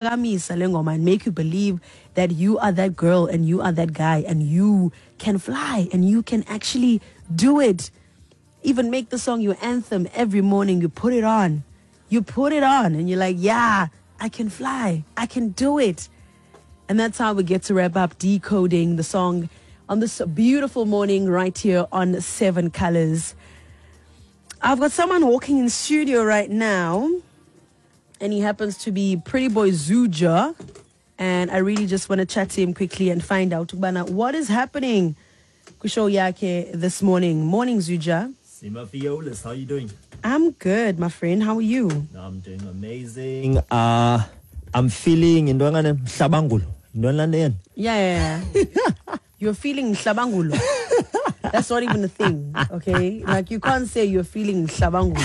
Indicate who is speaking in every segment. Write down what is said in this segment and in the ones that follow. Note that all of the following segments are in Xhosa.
Speaker 1: Iyakuphakamisa le ngoma and make you believe that you are that girl and you are that guy and you can fly and you can actually do it. Even make the song your anthem every morning. You put it on. You put it on and you're like, yeah, I can fly. I can do it. And that's how we get to wrap up decoding the song on this beautiful morning right here on Seven Colors. I've got someone walking in studio right now, and he happens to be Pretty Boy Zuja. And I really just want to chat to him quickly and find out what is happening kwishow yakhe this morning. Morning, Zuja.
Speaker 2: Sima Fiolis, how are you doing?
Speaker 1: I'm good, my friend. How are you?
Speaker 2: I'm doing amazing. I'm feeling into mhlabangulo. Into
Speaker 1: Yeah. You're feeling mhlabangulo. That's not even a thing, okay? Like, you can't say you're feeling mhlabangulo.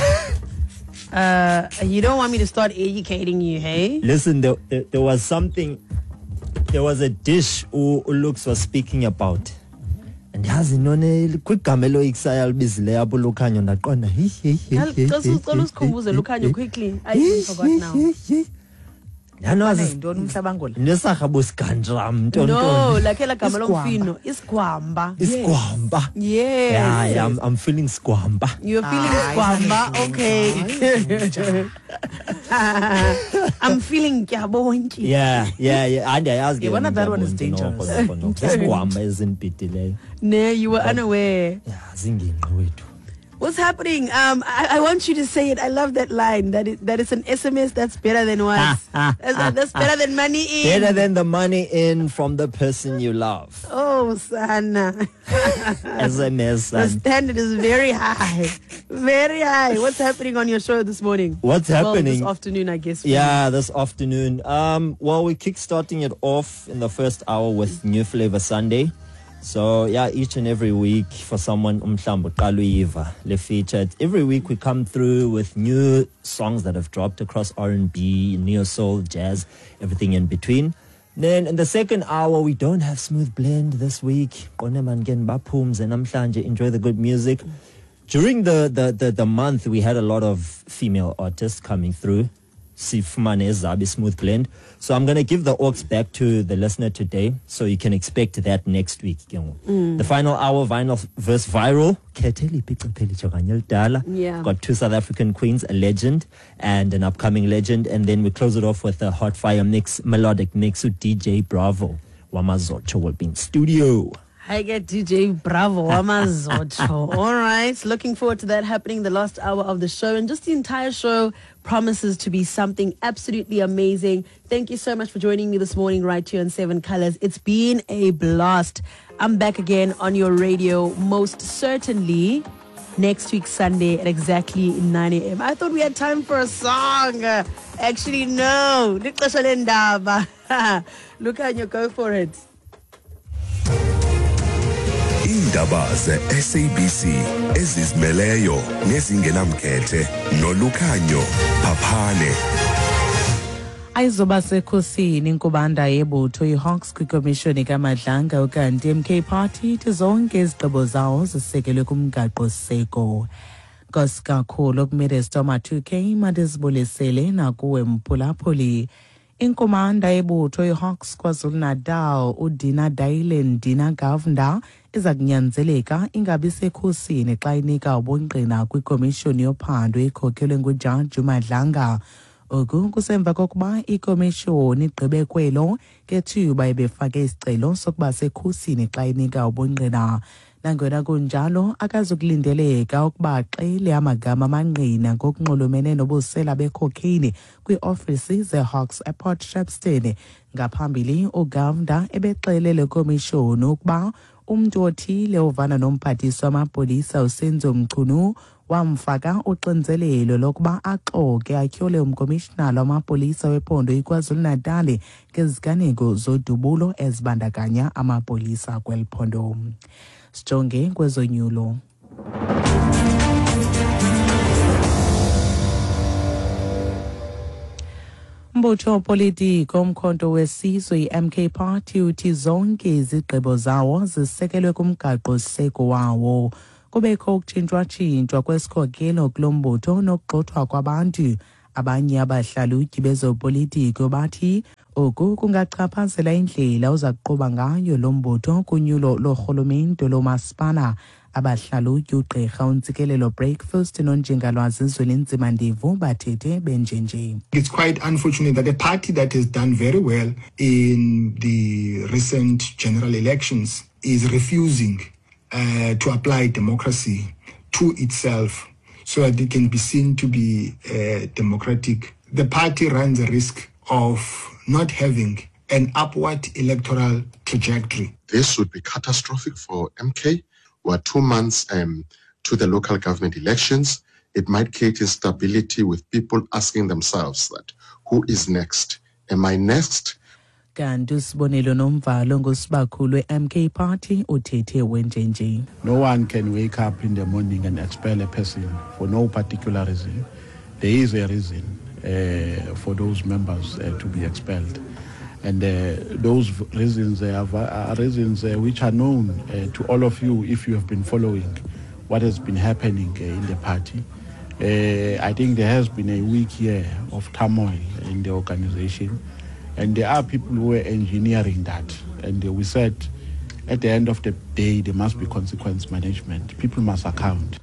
Speaker 1: You don't want me to start educating you, hey?
Speaker 2: Listen, there was something, there was a dish Lux was speaking about. And yazi none kwigama eloyikisayo alibizileyo apho Lukhanyo ndaqonda hi hi hi.
Speaker 1: Cela usikhumbuze Lukhanyo quickly. I even forgot now.
Speaker 2: Yanowazi
Speaker 3: yintoni umhlabangulo?
Speaker 2: Nesarha bosigantram nto.
Speaker 1: No, like la gama lomfino, isigwamba.
Speaker 2: Isigwamba.
Speaker 1: Yes.
Speaker 2: Yeah, I'm feeling sigwamba.
Speaker 1: You're feeling sigwamba, okay. I'm feeling kyabonki.
Speaker 2: Yeah. Andiyayazi ke.
Speaker 3: Yeah, that one is dangerous.
Speaker 2: Isigwamba ezinibhidileyo.
Speaker 1: No, you were unaware.
Speaker 2: Yeah, zingingqi wethu.
Speaker 1: What's happening? I want you to say it. I love that line. That is an SMS that's better than what? That's better than money in.
Speaker 2: Better than the money in from the person you love.
Speaker 1: Oh, Sana.
Speaker 2: SMS.
Speaker 1: The standard is very high. Very high. What's happening on your show this morning?
Speaker 2: What's happening?
Speaker 1: Well, this afternoon, I guess.
Speaker 2: Yeah, this afternoon. Well, we're kickstarting it off in the first hour with New Flavor Sunday. So, yeah, each and every week for someone, umhlambo qaluiva le featured. Every week we come through with new songs that have dropped across R&B, neo soul, jazz, everything in between. Then in the second hour, we don't have Smooth Blend this week. Enjoy the good music. During the month, we had a lot of female artists coming through. Sifumane Zabi Smooth Blend. So I'm going to give the aux back to the listener today, so you can expect that next week. The final hour, Vinyl vs. Viral.
Speaker 1: Yeah.
Speaker 2: Got two South African queens, a legend and an upcoming legend. And then we close it off with a hot fire mix, melodic mix with DJ Bravo. Wamazocho will be in studio.
Speaker 1: I get DJ Bravo, Wamazocho. All right. Looking forward to that happening the last hour of the show. And just the entire show promises to be something absolutely amazing. Thank you so much for joining me this morning right here on Seven Colors. It's been a blast. I'm back again on your radio, most certainly next week, Sunday at exactly 9 a.m. I thought we had time for a song. Actually, no. Lukhanyo, go for it.
Speaker 4: Indaba ze-SABC ezizimeleyo nezingenamkhethe noLukhanyo Phaphane.
Speaker 3: Ayizoba sekhosini inkubanda yebutho iHawks kwikomishoni kaMadlanga ukanti MK Party ithi zonke izigqibo zawo zisekelwe kumgaqo-siseko. Nkosi kakhulu kuMinister Ma2K mandizibulisele nakuwe mphulaphuli. Inkomanda yebutho iHawks KwaZulu-Natal uDina Dailen Dina Govender iza kunyanzeleka ingabi sekhosini xa inika ubungqina kwikomishoni yophando ekhokhelwe nguJaji Madlanga. Oku kusemva kokuba ikomishoni igqibe kwelo ngethuba ebefake isicelo sokuba sekhosini xa inika ubungqina. Nangona kunjalo akazukulindeleka ukuba axele amagama amangqina ngokunxulumene nobusela becocaine kwiiofisi zeHawks ePort Shepstone. Ngaphambili uGovender ebexele le komishoni ukuba umntu othile ovana nomphathiswa wamapolisa uSenzo Mchunu wamfaka uxinzelelo lokuba axoke atyhole umkomishinala wamapolisa wephondo iKwaZulu-Natal ngeziganeko zodubulo ezibandakanya amapolisa kweli phondo. Sijonge kwezonyulo. Mbutho wopolitiko Umkhonto weSizwe i-MK Party uthi zonke izigqibo zawo zisekelwe kumgaqo-siseko wawo. Kubekho ukutshintshwa-tshintshwa kwesikhokelo kulo mbutho nokugxothwa kwabantu Abanye abahlalutyi bezopolitiko bathi oku kungachaphazela indlela oza kuqhuba ngayo lo mbutho kunyulo lorhulumente lomasipala. Abahlalutyi ugqirha uNtsikelelo Breakfast nonjingalwazi Zwelinzima Ndevu bathethe benjenje.
Speaker 5: It's quite unfortunate that a party that has done very well in the recent general elections is refusing to apply democracy to itself so that it can be seen to be democratic. The party runs a risk of not having an upward electoral trajectory.
Speaker 6: This would be catastrophic for MK. We're 2 months to the local government elections. It might create instability with people asking themselves that, who is next? Am I next?
Speaker 3: Kanti usibonelo nomvalo ngusibakhulu we-MK Party uthethe wenjenje.
Speaker 7: No one can wake up in the morning and expel a person for no particular reason. There is a reason for those members to be expelled. And those reasons are reasons which are known to all of you if you have been following what has been happening in the party. I think there has been a week here of turmoil in the organization, and there are people who are engineering that. And we said at the end of the day, there must be consequence management. People must account.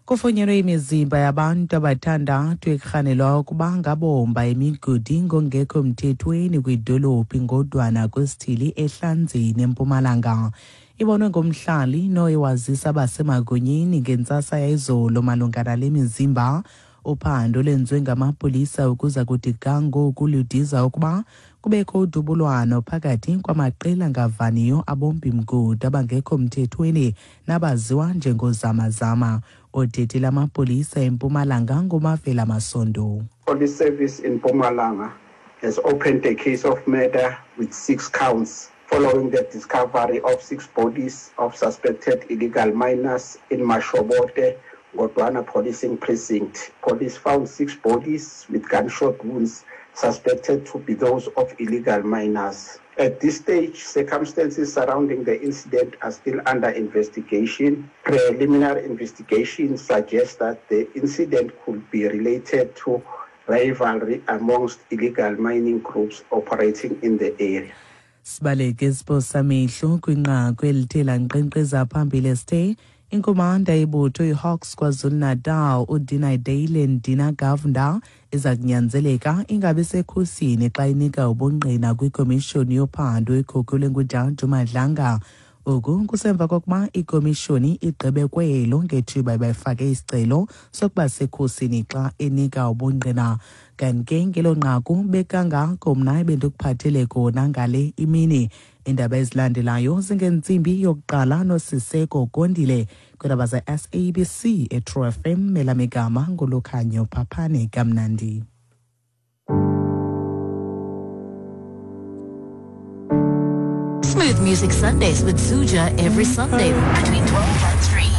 Speaker 3: Kufunyenwe imizimba yabantu abathandathu ekurhanelwa ukuba ngabomba imigodi ngongekho mthethweni kwidolophu ngodwana kwesithili eHlanzeni eMpumalanga. Ibonwe ngumhlali noye wazisa abasemagunyeni ngentsasa yayizolo malunga nale mizimba. Uphando lwenziwe ngamapolisa ukuza kuthi ga ngoku ludiza ukuba kubekho udubulwano phakathi kwamaqela angavaniyo abombi mgodi abangekho mthethweni nabaziwa njengozamazama. Odete lamapolisa eMpumalanga nguMavela Masondo.
Speaker 8: Police Service in Mpumalanga has opened a case of murder with 6 counts following the discovery of 6 bodies of suspected illegal miners in Mashobote, Godwana Policing Precinct. Police found 6 bodies with gunshot wounds suspected to be those of illegal miners. At this stage, circumstances surrounding the incident are still under investigation. Preliminary investigation suggests that the incident could be related to rivalry amongst illegal mining groups operating in the area.
Speaker 3: Sibaleke isiposamehlo kwinqaku elithe lankqenkqeza phambili esithe inkomanda yebutho iHawks KwaZulu-Natal uDina Dalen Dina Govender iza kunyanzeleka ingabi sekhusini xa inika ubungqina kwikomishoni yophando ekhokhelwe nguJaji Madlanga. Oku kusemva kokuba ikomishoni igqibe kwelo ngethuba bayifake isicelo sokuba sekhusini xa enika ubungqina. Kanti ke ngelo nqaku bekangako mna ebendikuphathele kona ngale imini. Indaba ezilandelayo zingentsimbi yokuqala noSiseko Gondile kwiindaba ze-SABC eTrue FM. Elamigama nguLukhanyo Phaphane. Kamnandi.
Speaker 9: Smooth Music Sundays with Suja every Sunday between 12 and 3.